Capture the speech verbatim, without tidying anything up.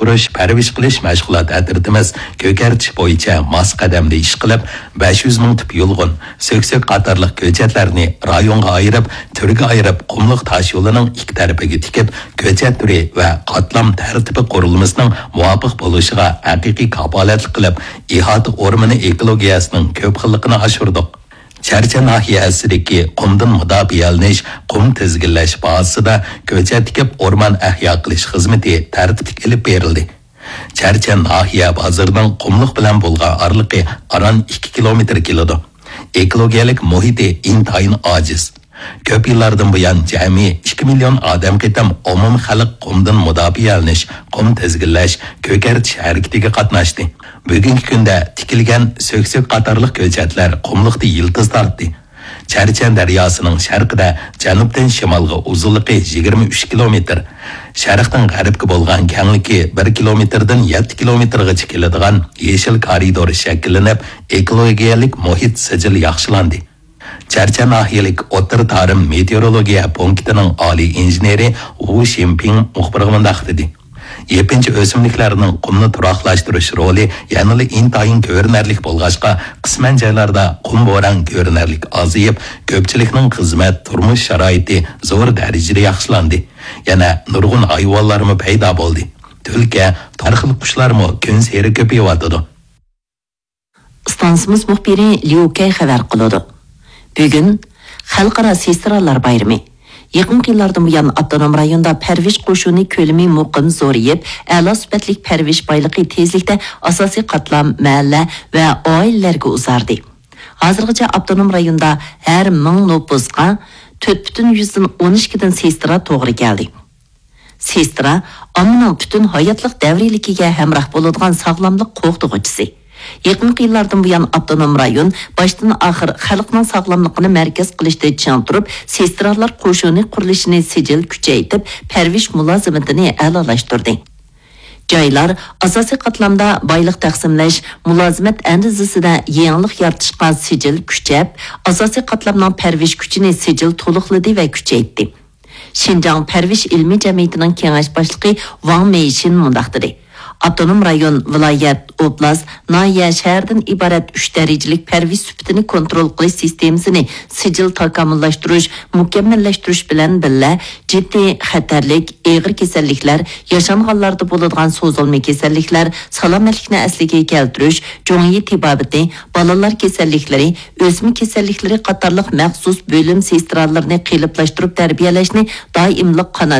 قۇرۇش، پەرۋىش قىلىش مەشغۇلات ئەترىتىمىز كۆكەرتىش بويىچە ماس قەدەمدە ئىش قىلىپ، بەش يۈز مىڭ تۈپ يۇلغۇن، سۆكسۆك قاتارلىق كۆچەتلەرنى رايونغا ئايرىپ، تۈرگە ئايرىپ، قۇملۇق تاش يولىنىڭ ئىككى تەرىپىگە تىكىپ، كۆچەت تۈرى ۋە قاتلام تەرتىپى قۇرۇلمىسىنىڭ مۇۋاپىق بولۇشىغا ھەقىقىي كاپالەتلىك قىلىپ، ئىھاتە ئورمىنى ئېكولوگىيەسىنىڭ كۆپ خىللىقىنى ئاشۇردۇق. چەرچەن ناھىيە ئەسلىدىكى قۇمدىن مۇداپىئەلىنىش، قۇم تىزگىنلەش بازىسىدا كۆچەت تىكىپ ئورمان ئەھيا قىلىش خىزمىتى تەرتىپلىك ئېلىپ بېرىلدى. چەرچەن ناھىيە بازىرىنىڭ قۇملۇق بىلەن بولغان ئارىلىقى ئاران ئىككى كىلومېتىر كېلىدۇ. ئېكولوگىيەلىك مۇھىتى ئىنتايىن ئاجىز. كۆپ يىللاردىن بۇيان جەمئىي ئىككى مىليون ئادەم قېتىم ئومۇمخەلق قۇمدىن مۇداپىئەلىنىش، قۇم تىزگىنلەش، كۆكەرتىش ھەرىكىتىگە قاتناشتى. بۈگۈنكى كۈندە تىكىلگەن سۆكسۆك قاتارلىق كۆچەتلەر قۇملۇقتا يىلتىز تارتتى. چەرچەن دەرياسىنىڭ شەرقىدە جەنۇبتىن شىمالغا ئۇزۇنلۇقى يىگىرمە ئۈچ كىلومېتىر، شەرقتىن غەربكە بولغان كەڭلىكى بىر كىلومېتىردىن يەتتە كىلومېتىرغىچە كېلىدىغان يېشىل كارىدور شەكىللىنىپ، ئېكولوگىيەلىك مۇھىت سىجىل ياخشىلاندى. چەرچەن ناھىيەلىك ئوتتۇرا تارىم مېتېئورولوگىيە پونكىتىنىڭ ئالىي ئىنژېنېرى ۋۇ شىنپىڭ مۇخبىرغا مۇنداق دېدى: يېپىنچا ئۆسۈملۈكلەرنىڭ قۇمنى تۇراقلاشتۇرۇش رولى يەنىلا ئىنتايىن كۆرۈنەرلىك بولغاچقا، قىسمەن جايلاردا قۇم بوران كۆرۈنەرلىك ئازىيىپ، كۆپچىلىكنىڭ خىزمەت، تۇرمۇش شارائىتى زور دەرىجىدە ياخشىلاندى. يەنە نۇرغۇن ھايۋانلارمۇ پەيدا بولدى. تۈلكە، ھەر خىل قۇشلارمۇ كۈنسېرى كۆپىيىۋاتىدۇ. ئىستانسىمىز مۇخبىرى ليۇ كەي خەۋەر قىلىدۇ. بۈگۈن خەلقئارا سېسترالار بايرىمى. يېقىنقى يىللاردىن بۇيان، ئاپتونوم رايوندا پەرۋىش قوشۇنى كۆلىمى مۇقىم زورىيىپ، ئەلا سۈپەتلىك پەرۋىش بايلىقى تېزلىكتە ئاساسىي قاتلام، مەھەللە ۋە ئائىلىلەرگە ئۇزاردى. ھازىرغىچە ئاپتونوم رايوندا ھەر مىڭ نوپۇسقا تۆت پۈتۈن يۈزدىن ئون ئىككىدىن سېسترا توغرا كەلدى. سېسترا ئاممىنىڭ پۈتۈن ھاياتلىق دەۋرىيلىكىگە ھەمراھ بولىدىغان ساغلاملىق قوغدىغۇچىسى. يېقىنقى يىللاردىن بۇيان، ئاپتونوم رايون باشتىن ئاخىر خەلقنىڭ ساغلاملىقىنى مەركەز قىلىشتا چىڭ تۇرۇپ، سېسترالار قوشۇنى قۇرۇلۇشىنى سىجىل كۈچەيتىپ، پەرۋىش مۇلازىمىتىنى ئەلالاشتۇردى. جايلار ئاساسىي قاتلامدا بايلىق تەقسىملەش، مۇلازىمەت ئەندىزىسىدە يېڭىلىق يارىتىشقا سىجىل كۈچەپ، ئاساسىي قاتلامنىڭ پەرۋىش كۈچىنى سىجىل تولۇقلىدى ۋە كۈچەيتتى. شىنجاڭ پەرۋىش ئىلمىي جەمئىيىتىنىڭ كېڭەش باشلىقى ۋاڭ مېيشىن مۇنداق دېدى: ئاپتونوم رايون، ۋىلايەت، ئوبلاست، ناھىيە، شەھەردىن ئىبارەت ئۈچ دەرىجىلىك پەرۋىش سۈپىتىنى كونترول قىلىش سىستېمىسىنى سىجىل تاكامۇللاشتۇرۇش، مۇكەممەللەشتۈرۈش بىلەن بىللە، جىددىي خەتەرلىك، ئېغىر كېسەللىكلەر، ياشانغانلاردا بولىدىغان سوزۇلما كېسەللىكلەر، سالامەتلىكنى ئەسلىگە كەلتۈرۈش، جۇڭيى تېبابىتى، بالىلار كېسەللىكلىرى، ئۆسمە كېسەللىكلىرى قاتارلىق مەخسۇس بۆلۈم سېسترالىرىنى قېلىپلاشتۇرۇپ تەربىيەلەشنى دائىملىق قانات